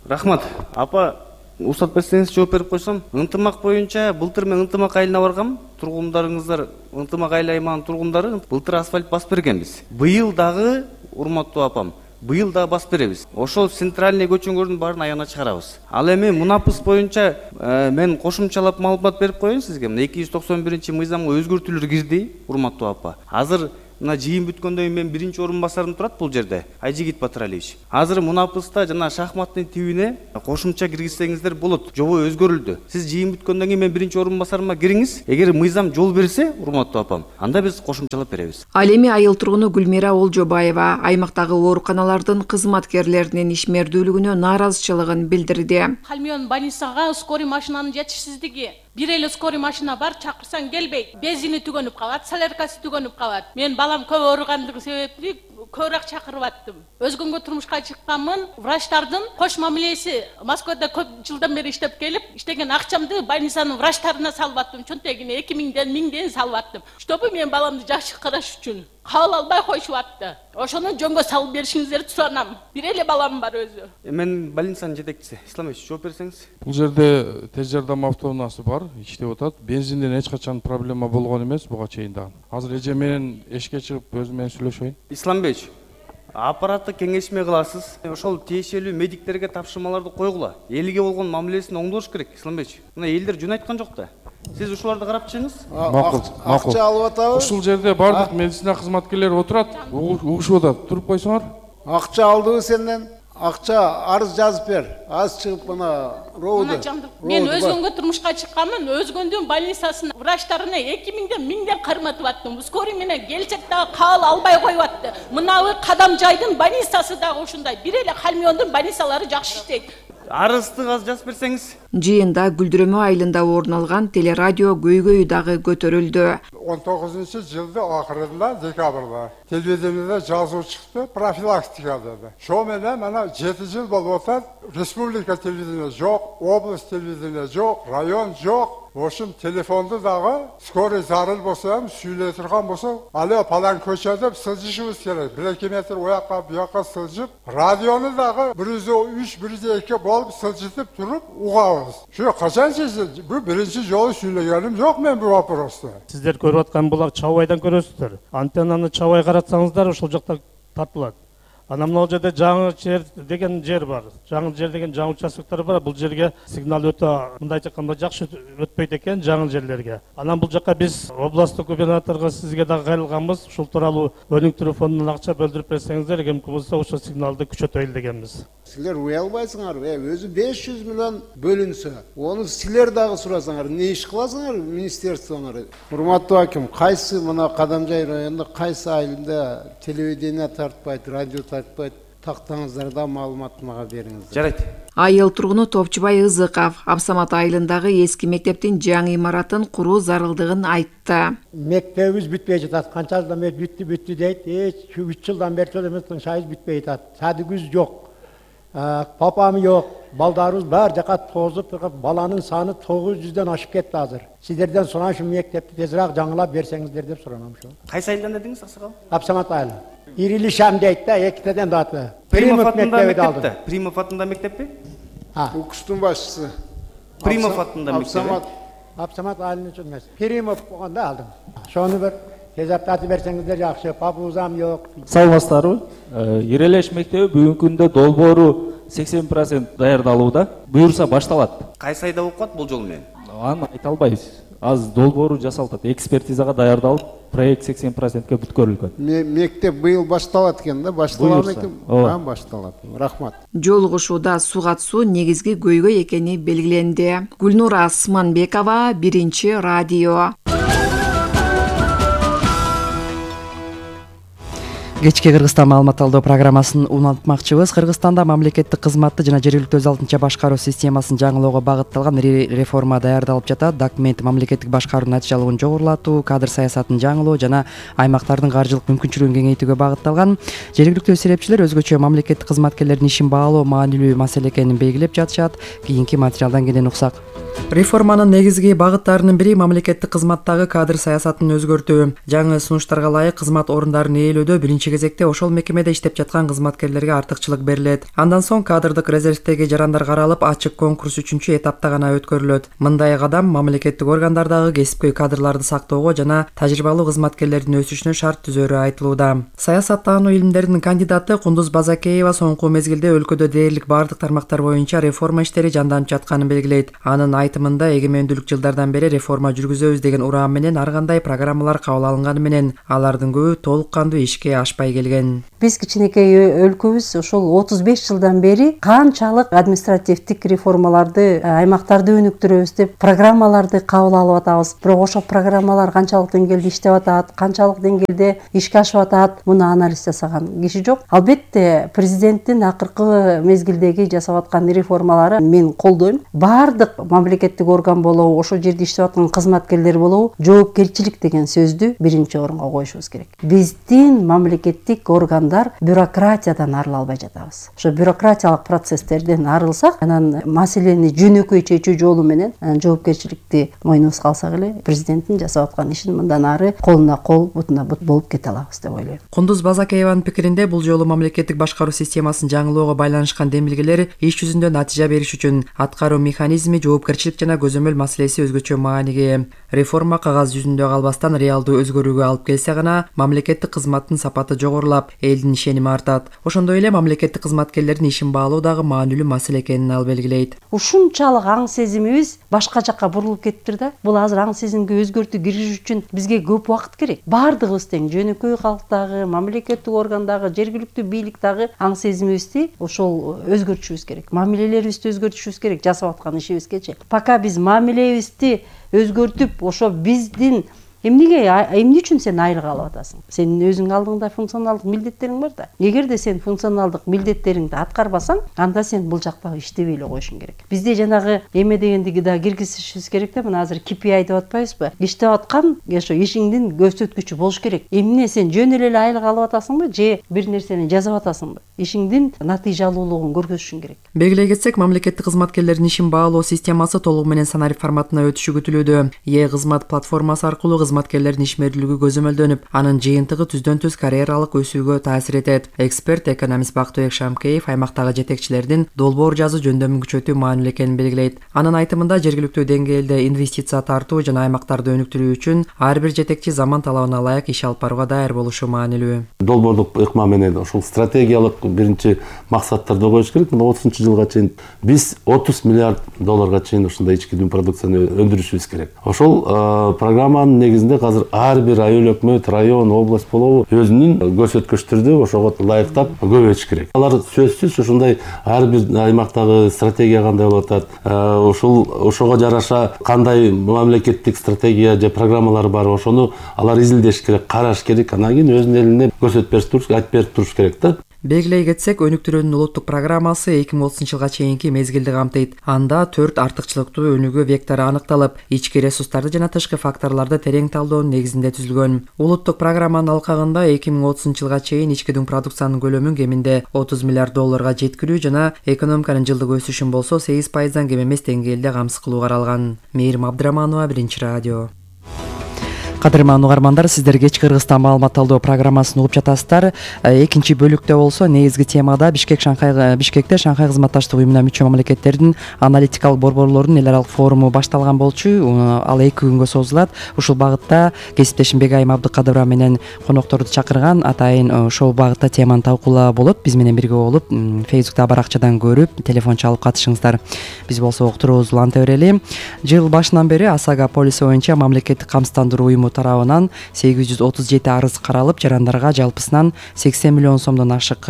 Speaker 16: Рахмат. Апа, уруксат берсеңиз жооп берип койсом. Ынтымак боюнча былтыр мен Ынтымак айылына баргам. Тургундарыңыздар, Ынтымак айыл аймагынын тургундары былтыр асфальт басып бергенбиз. Быйыл дагы, урматтуу апам, быйыл да басып беребиз. Ошол центральный көчөңөрдүн баарын аягына чыгарабыз. Ал эми мунапыс боюнча мен кошумчалап маалымат берип коеюн сизге. 291-мыйзамга өзгөртүүлөр кирди, урматтуу апа. Азыр мына жыйын бүткөндөн кийин мен биринчи орун басарым турат бул жерде, Айжигит Батыралиевич. Азыр мунапыста жана шахматтын тибине кошумча киргизсеңиздер болот. Жобо өзгөрүлдү. Сиз жыйын бүткөндөн кийин мен биринчи орун басарыма кириңиз. Эгер мыйзам жол берсе, урматтуу апам, анда биз кошумчалап беребиз.
Speaker 2: Ал эми айыл тургуну Гүлмира Олжобаева аймактагы ооруканалардын кызматкерлеринин ишмердүүлүгүнө нааразычылыгын билдирди.
Speaker 17: Кальмион больницага скорый машинанын жетишсиздиги бир эле скорый машина бар, чакырсаң келбейт. Бензини түгөнүп калат, соляркасы түгөнүп калат. Мен балам көп ооругандыгы себептүү көбүрөөк чакырып аттым. Өзгөнгө турмушка чыкканмын. Врачтардын кош мамилеси Москвада көп жылдан бери иштеп келип, иштеген акчамды больницанын врачтарына салып аттым. Чөнтөгүнө 2000ден 1000ден салып аттым. Чтобы мен баламды жакшы караш үчүн. Кабыл албай коюшуп атты. Ошону жөнгө салып беришиңиздерди суранам. Бир эле балам бар өзү.
Speaker 16: Мен больницанын жетекчиси. Исламович, жооп берсеңиз.
Speaker 18: Бул жерде тез жардам автоунаасы бар, иштеп атат. Бензинден эч качан проблема болгон эмес буга чейин дагы. Азыр эже менен эшикке чыгып өзү менен сүйлөшөйүн.
Speaker 16: Исламбек, аппаратты кеңешме кыласыз. Ошол тиешелүү медиктерге тапшырмаларды койгула. Элге болгон мамилесин оңдош керек, Исламбек. Мына элдер жөн айткан жок да. Сиз ушуларды карап чыгыңыз.
Speaker 18: Макул.
Speaker 19: Акча алып атабыз.
Speaker 18: Ушул жерде бардык медицина кызматкерлери отурат, угушуп атат. Туруп койсоңор.
Speaker 19: Акча алдыбы сенден? Акча арыз жазып бер. Аз чыгып мына роуду.
Speaker 17: Мен өзгөнгө турмушка чыкканмын, өзгөндүн больницасына врачтарына 2000ден 1000ден карматып аттым. Скорый менен келчек дагы кабыл албай коюп атты. Мынабы Кадамжайдын больницасы дагы ушундай. Бир эле Халмиондун больницалары жакшы иштейт.
Speaker 16: Арызды аз жазып берсеңиз.
Speaker 6: Жыйында Гүлдүрөмө айылында орун алган телерадио көйгөйү дагы көтөрүлдү.
Speaker 20: 19-жылдын акырында, декабрда телевидениеде жазуу чыкты, профилактика деди. Шо менен мына 7 жыл болуп атат. Республика телевидение жок, область телевидение жок, район жок. Ошун телефонду дагы скорый зарыл болсо ham сүйлөй турган болсо, алё палан көчө деп сылжышыбыз керек. 1-2 метр оякка, буякка сылжып, радиону дагы 103, 102 болуп сылжытып туруп угабыз. Şu качан сезди? Bu birinci жолу сүйлөгөнүм жок мен бул вопросту.
Speaker 21: Сиздер көрүп аткан булак чабайдан көрөсүздөр. Антеннаны чабай каратсаңыздар ошол жакта тартылат. Ана мына жерде жаңы жер деген жер бар. Жаңы жер деген жаңы участоктор бар. Бул жерге сигнал өтө мындайча айтканда жакшы өтпөйт экен жаңы жерлерге. Анан бул жакка биз областтык губернаторго сизге дагы кайрылганбыз. Ушул тууралуу өнүк телефонунан акча бөлдүрүп берсеңиздер, кимки болсо ошол сигналды күчөтөйлү дегенбиз.
Speaker 19: Силер уя албайсыңар, өзү 500 миллион бөлүнсө, ону силер дагы сурасаңар, не иш кыласыңар министерствоңар? Урматтуу аким, кайсы мына Кадамжай районунда кайсы айылында телевидение тартпайт, радио тартпайт, тактаңыздарда маалымат мага бериңиздер.
Speaker 16: Жарайт.
Speaker 6: Айыл тургуну Топчубай Ызыков Абсамат айылындагы эски мектептин жаңы имаратын куруу зарылдыгын айтты.
Speaker 22: Мектебибиз бүтпөй жатат. Канча жылдан бери бүттү дейт. 3 жылдан бери эмес, шайыз бүтпөй жатат. Садыгүз жок. Папам жок. Балдарыбыз бар жака тозуп, баланын саны 900дөн ашып кетти азыр. Сиздерден суран ушу мектепти тезирээк жаңылап берсеңиздер деп суранам ушу.
Speaker 16: Кайсы айылдан дедиңиз, аксакал?
Speaker 22: Абсамат айылы. Ирили Шам дейт да, экитеден даты.
Speaker 16: Примов атында мектепте. Примов атында мектеппи?
Speaker 19: Укуштун башчысы.
Speaker 16: Примов атында мектеп.
Speaker 22: Абсамат айылын үчүн эмес. Примов болгондо алдым. Шону бир тез аптатып берсеңиздер жакшы. Папузам жок.
Speaker 23: Саламатсыздарбы? Ирелеш мектеби бүгүнкү күндө долбоору 80% даярдалууда. Буюрса башталат.
Speaker 16: Кайсы айда окуп бул жол менен?
Speaker 23: Аны айта албайбыз. Аз долбоору жасалып атат. Экспертизага даярдалып, проект 80%ке бүткөрүлгөн.
Speaker 19: Мектеп быйыл башталат экен да, башталган экен. Башталат. Рахмат.
Speaker 6: Жолугушууда сугат-суу негизги көйгөй экени белгиленди. Гүлнура Асманбекова, Биринчи радио.
Speaker 1: Кечки Кыргызстан маалымат алуу программасын улантмакчыбыз. Кыргызстанда мамлекеттик кызматты жана жергиликтүү өз алдынча башкаруу системасын жаңылоого багытталган реформа даярдалып жатат. Документ мамлекеттик башкаруунун натыйжалуулугун жогорулатуу, кадр саясатын жаңылоо жана аймактардын каржылык мүмкүнчүлүгүн кеңейтүүгө багытталган. Жергиликтүү серепчилер өзгөчө мамлекеттик кызматкерлердин ишин баалоо маанилүү маселе экенин белгилеп жатышат. Кийинки материалдан кенен уксак. Реформанын негизги багыттарынын бири мамлекеттик кызматтагы кадр саясатын өзгөртүү. Жаңы сунуштарга ылайык кызмат орундарын ээлөөдө биринчи кезекте ошол мекемеде иштеп жаткан кызматкерлерге артыкчылык берилет. Андан соң кадрдык резервдеги жарандар каралып, ачык конкурс 3-этапта гана өткөрүлөт. Мындай кадам мамлекеттик органдардагы кесипкөй кадрларды сактоого жана тажрыйбалуу кызматкерлердин өсүшүнө шарт түзөрү айтылууда. Саясаттануу илимдеринин кандидаты Кундуз Базакеева соңку мезгилде өлкөдө дээрлик бардык тармактар боюнча реформа иштери жанданып жатканын белгилейт. Анын айтымында эгемендүүлүк жылдардан бери реформа жүргүзөбүз деген ураам менен ар кандай программалар кабыл алынганы менен алардын көбү толук кандуу ишке ашпай алышпай келген.
Speaker 3: Биз кичинекей өлкөбүз ошол 35 жылдан бери канчалык административдик реформаларды, аймактарды өнүктүрөбүз деп программаларды кабыл алып атабыз. Бирок ошол программалар канчалык деңгээлде иштеп атат, канчалык деңгээлде ишке ашып атат, муну анализ жасаган киши жок. Албетте президенттин акыркы мезгилдеги жасап аткан реформалары мен колдойм. Бардык мамлекеттик орган болобу, ошол жерде иштеп аткан кызматкерлер болобу, жоопкерчилик деген сөздү биринчи орунга коюшубуз керек. Биздин мамлекеттик органдар бюрократиядан арыла албай жатабыз. Ошо бюрократиялык процесстерден арылсак, анан маселени жөнөкөй чечүү жолу менен жоопкерчиликти мойнубузга алсак эле, президенттин жасап аткан ишин мындан ары колуна кол, бутуна бут болуп кете алабыз деп ойлойм.
Speaker 1: Кундуз Базакееванын пикиринде, бул жолу мамлекеттик башкаруу системасын жаңылоого байланышкан демилгелер иш жүзүндө натыйжа бериш үчүн аткаруу механизми, жоопкерчилик жана көзөмөл маселеси өзгөчө мааниге. Реформа кагаз жүзүндө калбастан реалдуу өзгөрүүгө алып келсе гана мамлекеттик кызматтын сапаты жогорулап, элдин ишеними артат. Ошондой эле мамлекеттик кызматкерлердин ишин баалоо дагы маанилүү маселе экенин ал белгилейт.
Speaker 3: Ушунчалык аң сезимибиз башка жакка бурулуп кетиптир да. Бул азыр аң сезимге өзгөртүү киргизиш үчүн бизге көп убакыт керек. Бардыгыбыз тең, жөнөкөй калктагы, мамлекеттик органдагы, жергиликтүү бийликтагы аң сезимибизди ошол өзгөртүшүбүз керек. Мамилелерибизди өзгөртүшүбүз керек жасап аткан ишибизгечи. Пока биз мамилебизди өзгөртүп, ошо биздин эмне үчүн сен айлык алып атасың? Сенин өзүң алдыңда функционалдык милдеттериң бар да. Эгерде сен функционалдык милдеттериңди аткарбасаң, анда сен бул жактагы иштебей эле коюшуң керек. Бизде жанагы эме дегендиги да киргизишибиз керек да. Мына азыр KPI деп атпайбызбы? Иштеп аткан ошо ишиңдин көрсөткүчү болуш керек. Эмне сен жөн эле айлык алып атасыңбы, же бир нерсени жазып атасыңбы? Ишиңдин натыйжалуулугун көрсөтүшүң керек.
Speaker 1: Белгилей кетсек, мамлекеттик кызматкерлердин ишин баалоо системасы толугу менен санарип форматына өтүшү күтүлүүдө. Е-кызмат платформасы аркылуу кызматкерлердин ишмердүүлүгү көзөмөлдөнүп, анын жыйынтыгы түздөн түз карьералык өсүүгө таасир этет. Эксперт экономист Бактыбек Шамкеев аймактагы жетекчилердин долбоор жазуу жөндөмүн күчөтүү маанилүү экенин белгилейт. Анын айтымында, жергиликтүү деңгээлде инвестиция тартуу жана аймактарды өнүктүрүү үчүн ар бир жетекчи заман талабына ылайык иш алып барууга даяр болушу маанилүү.
Speaker 4: Долбоордук ыкма менен ошол стратегиялык биринчи максаттарды коюш керек. Мына 30-жылга чейин биз 30 миллиард долларга чейин ушундай ички дүң продукцияны өндүрүшүбүз керек. Ошол программанын негизинде азыр ар бир айыл өкмөт, район, область болобу өзүнүн көрсөткүчтөрдү ошого ылайыктап көбөйтүш керек. Алар сөзсүз ушундай ар бир аймактагы стратегия кандай болуп атат, ошого жараша кандай мамлекеттик стратегия же программалар бар, ошону алар изилдеш керек, караш керек, анан кийин өзүнүн элине көрсөтүп берип туруш, айтып берип туруш керек да.
Speaker 1: Белгилей кетсек, өнүктүрүүнүн улуттук программасы 2030-жылга чейинки мезгилди камтыйт. Анда 4 артыкчылыктуу өнүгүү вектору аныкталып, ички ресурстарды жана тышкы факторлорду терең талдоонун негизинде түзүлгөн. Улуттук программанын алкагында 2030-жылга чейин ички дүң продукциянын көлөмүн кеминде 30 миллиард долларга жеткирүү жана экономиканын жылдык өсүшүн болсо 8%дан кем эмес деңгээлде камсыз кылуу каралган. Мээрим Абдыраманова, Биринчи радио. Кадырман угармандар, сиздер кеч Кыргызстан маалымат талдоо программасын угуп жатасыздар. Экинчи бөлүктө болсо негизги темада Бишкекте Шанхай кызматташтык уюмуна мүчө мамлекеттердин аналитикалык борборлорунун эл аралык форуму башталган болчу. Ал 2 күнгө созулат. Ушул багытта кесиптешим Бегайым Абдыкадырова менен конокторду чакырган. Атайын ошол багытта теманы талкуулаа болот. Биз менен бирге болуп, Facebook'та баракчадан көрүп, телефон чалып катышыңыздар. Биз болсо уктуруубузду уланта берели. Жыл башынан бери Асага полиси боюнча мамлекеттик камсыздандыруу уюму тарабынан 837 арыз каралып, жарандарга жалпысынан 80 миллион сомдон ашык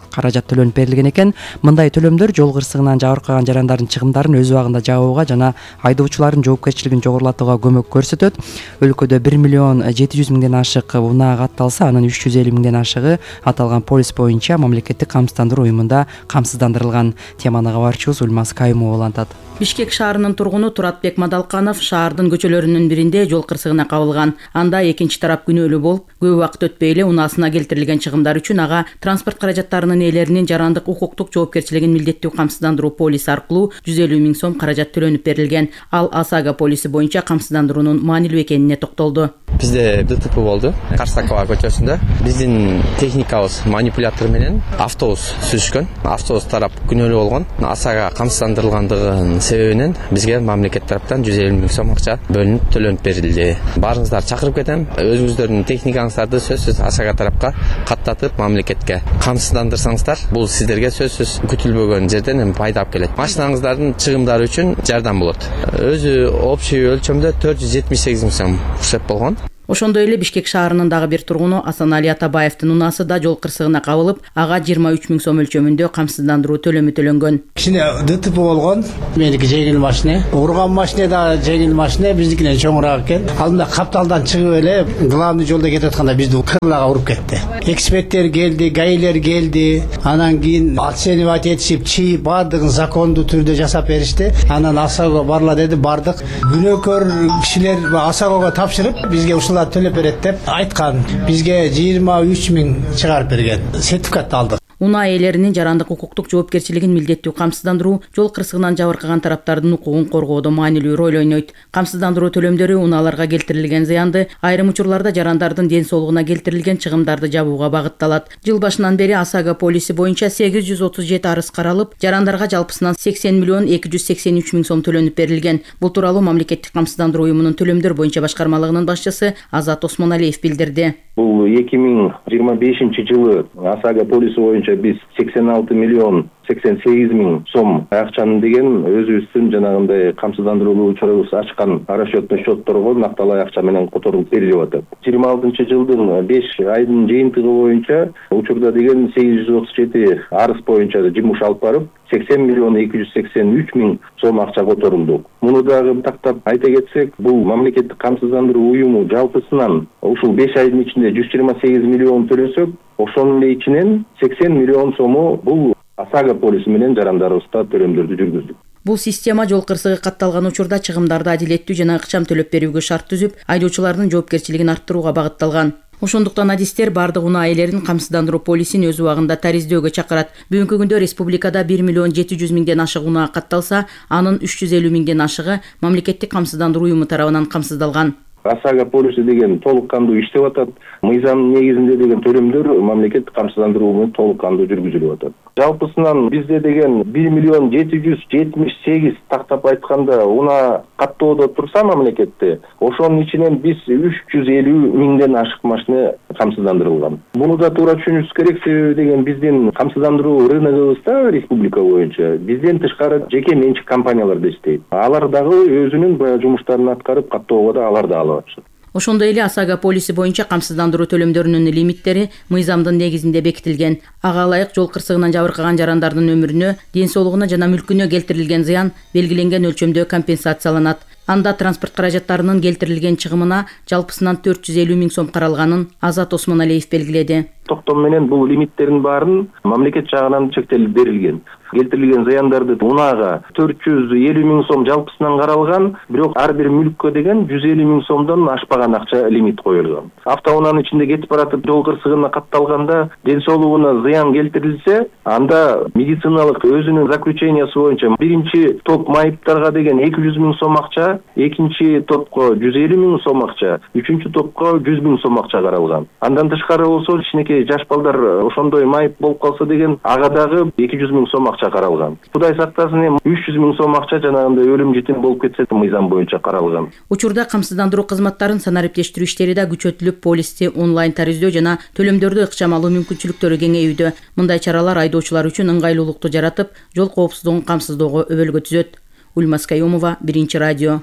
Speaker 1: каражат төлөнүп берилген экен. Мындай төлөмдөр жол кырсыгынан жабыркаган жарандардын чыгымдарын өз убагында жабууга жана айдоочулардын жоопкерчилигин жогорулатууга көмөк көрсөтөт. Өлкөдө 1 миллион 700 миңден ашык унаа катталса, анын 350 миңден ашыгы аталган полис боюнча мамлекеттик камсыздандыруу уюмунда камсыздандырылган. Теманы кабарчыбыз Ульмаз Кайымова улантат.
Speaker 5: Бишкек шаарынын тургуну Туратбек Мадалканов шаардын көчөлөрүнүн биринде жол кырсыгына кабылган. Анда экинчи тарап күнөөлүү болуп, көп убакыт өтпөй эле унаасына келтирилген чыгымдар үчүн ага транспорт каражаттарынын ээлеринин жарандык укуктук жоопкерчилигин милдеттүү камсыздандыруу полиси аркылуу 150 миң сом каражат төлөнүп берилген. Ал Асага полиси боюнча камсыздандыруунун маанилүү экенине токтолду.
Speaker 24: Бизде ДТП болду Карсакова көчөсүндө. Биздин техникабыз манипулятор менен автобус сүзүшкөн. Автобус тарап күнөөлүү болгон. Асага камсыздандырылгандыгын себебинен бизге мамлекет тараптан 150 миң сом акча бөлүнүп төлөнүп берилди. Баарыңыздар чакырып кетем. Өзүңүздөрдүн техникаңыздарды сөзсүз Асага тарапка каттатып мамлекетке камсыздандырсаңыздар, бул сиздерге сөзсүз күтүлбөгөн жерден пайда алып келет. Машинаңыздардын чыгымдары үчүн жардам болот. Өзү общий өлчөмдө 478 миң сом урсеп болгон.
Speaker 5: Ошондой эле Бишкек шаарынын дагы бир тургуну Асанали Атабаевдин унаасы да жол кырсыгына кабылып, ага 23 000 сом өлчөмүндө камсыздандыруу төлөмү төлөнгөн.
Speaker 7: Кичине ДТП болгон. Меники жеңил машина. Урган машина да жеңил машина, биздикинен чоңураак экен. Алдында капталдан чыгып эле главный жолдо кетип атканда бизди кырлага уруп кетти. Эксперттер келди, гаилер келди. Анан кийин оценивать этишип, чийип, баардыгын закондуу түрдө жасап беришти. Анан АСАГОго барла деди, бардык. Күнөөкөр кишилер АСАГОго тапшырып, бизге ушулар төлөп берет деп айткан. Бизге 23 000 чыгарып берген. Сертификат алдык.
Speaker 5: Унаа ээлеринин жарандык укуктук жоопкерчилигин милдеттүү камсыздандыруу жол кырсыгынан жабыркаган тараптардын укугун коргоодо маанилүү роль ойнойт. Камсыздандыруу төлөмдөрү унааларга келтирилген зыянды, айрым учурларда жарандардын ден соолугуна келтирилген чыгымдарды жабууга багытталат. Жыл башынан бери АСАГО полиси боюнча 837 арыз каралып, жарандарга жалпысынан 80 миллион 283 000 сом төлөнүп берилген. Бул тууралуу мамлекеттик камсыздандыруу уюмунун төлөмдөр боюнча башкармалыгынын башчысы Азат Осмоналиев билдирди.
Speaker 8: Бул 2025 жылы АСАГО полиси боюнча биз 86 миллион 88 000 сом акчаны деген өзүбүздүн жанагындай камсыздандыруу учурубуз ачкан расчетный счетторго накталай акча менен которулуп берилип атат. 26 жылдын 5 айдын жыйынтыгы боюнча учурда деген 837 арыз боюнча жумуш алып барып 80 миллион 283 000 сом акча которулду. Муну дагы тактап айта кетсек, бул мамлекеттик камсыздандыруу уюму жалпысынан ушул 5 айдын ичинде 128 миллион төлөсөк, ошонун эле ичинен 80 миллион сому бул АСАГО полиси менен жарандарыбызга төлөмдөрдү жүргүздүк.
Speaker 5: Бул система жол кырсыгы катталган учурда чыгымдарды адилеттүү жана ыкчам төлөп берүүгө шарт түзүп, айдоочулардын жоопкерчилигин арттырууга багытталган. Ошондуктан адистер бардык унаа ээлерин камсыздандыруу полисин өз убагында тариздөөгө чакырат. Бүгүнкү күндө республикада 1 миллион 700 000ден ашык унаа катталса, анын 350 000ден ашыгы мамлекеттик камсыздандыруу уюму тарабынан камсыздалган.
Speaker 8: АСАГО полиси деген толук кандуу иштеп атат. Мыйзам негизинде деген төлөмдөр мамлекеттик камсыздандыруу менен толук кандуу жүргүзүлүп атат. Жалпысынан бизде деген 1 миллион 778 тактап айтканда унаа каттоодо турса мамлекетте, ошонун ичинен биз 350 000ден ашык машина камсыздандырылган. Буну да туура түшүнүшүбүз керек, себеби деген биздин камсыздандыруу рыногубузда республика боюнча бизден тышкары жеке менчик компаниялар да иштейт. Алар дагы өзүнүн баягы жумуштарын аткарып каттоого да алар да алып атышат.
Speaker 5: Ошондой эле АСАГО полиси боюнча камсыздандыруу төлөмдөрүнүн лимиттери мыйзамдын негизинде бекитилген. Ага ылайык жол кырсыгынан жабыркаган жарандардын өмүрүнө, ден соолугуна жана мүлкүнө келтирилген зыян белгиленген өлчөмдө компенсацияланат. Анда транспорт каражаттарынын келтирилген чыгымына жалпысынан 450 000 сом каралганын Азат Осмоналиев белгиледи.
Speaker 8: Токтом менен бул лимиттердин баарын мамлекет жагынан чектелип берилген. Келтирилген зыяндарды унаага 450 000 сом жалпысынан каралган, бирок ар бир мүлккө деген 150 000 сомдон ашпаган акча лимит коюлган. Автоунаанын ичинде кетип баратып жол кырсыгына катталганда ден соолугуна зыян келтирилсе, анда медициналык өзүнүн заключениясы боюнча биринчи топ майыптарга деген 200 000 сом акча, экинчи топко 150 000 сом акча, үчүнчү топко 100 000 сом акча каралган. Андан тышкары болсо, кичинекей жаш балдар ошондой майып болуп калса деген ага дагы 200 000 сом акча каралган. Кудай сактасын, эми 300 000 сом акча жанагындай өлүм житим болуп кетсе мыйзам боюнча каралган.
Speaker 5: Учурда камсыздандыруу кызматтарын санариптештирүү иштери да күчөтүлүп, полисти онлайн тариздөө жана төлөмдөрдү ыкчам алуу мүмкүнчүлүктөрү кеңейүүдө. Мындай чаралар айдоочулар үчүн ыңгайлуулукту жаратып, жол коопсуздугун камсыздоого өбөлгө түзөт. Ульмас Каюмова, Биринчи радио.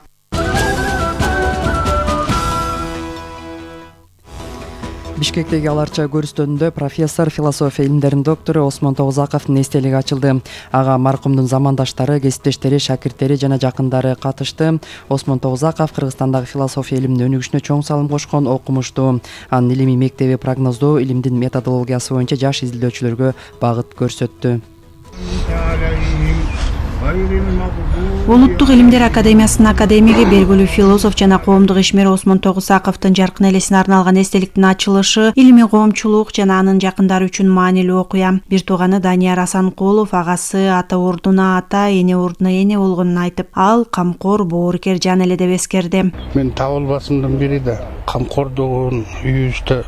Speaker 1: Бишкектеги аларча көрүстөнүндө профессор, философия илимдеринин доктору Осмон Тогузаковдун эстелиги ачылды. Ага маркумдун замандаштары, кесиптештери, шакирттери жана жакындары катышты. Осмон Тогузаков Кыргызстандагы философия илиминин өнүгүшүнө чоң салым кошкон окумуштуу. Анын илимий мектеби прогноздоо илимдин методологиясы боюнча жаш изилдөөчүлөргө багыт көрсөттү.
Speaker 6: Улуттук илимдер академиясынын академиги, белгилүү философ жана коомдук ишмер Осмон Тогузаковдун жаркын элесине арналган эстеликтин ачылышы илимий коомчулук жана анын жакындары үчүн маанилүү окуя. Бир тууганы Данияр Асанкулов агасы ата ордуна ата, эне ордуна эне болгонун айтып, ал камкор, боорукер жан эле деп эскерди.
Speaker 9: Мен табылбасымдын бири да камкордугун үйүбүздө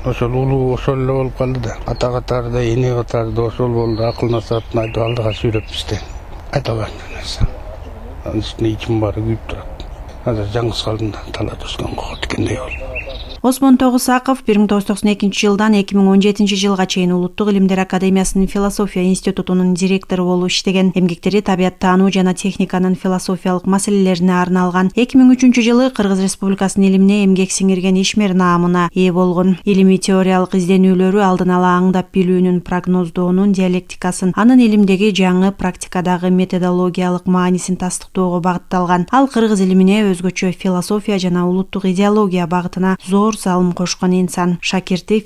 Speaker 9: ошол улуу ошол эле болуп калды да. Ата катарда, эне катарда ошол болду. Акыл насаатын айтып алдыга сүйрөпбүз да. Айта албайм нерсе. Анын үстүнө ичим баары күйүп турат. Азыр жаңгыз калдым да талат өскөн кокот экендей болду.
Speaker 11: Осмон Тогусаков 1992 жылдан 2017 жылга чейин Улуттук илимдер академиясынын философия институтунун директору болуп иштеген. Эмгектери табияттануу жана техниканын философиялык маселелерине арналган. 2003 жылы Кыргыз Республикасынын илимине эмгек сиңирген ишмер наамына ээ болгон. Илимий теориялык изденүүлөрү алдын ала аңдап билүүнүн, прогноздоонун диалектикасын, анын илимдеги жаңы практикадагы методологиялык маанисин тастыктоого багытталган. Ал кыргыз илимине өзгөчө философия жана улуттук идеология багытына зор салым кошкон инсан. Шакирти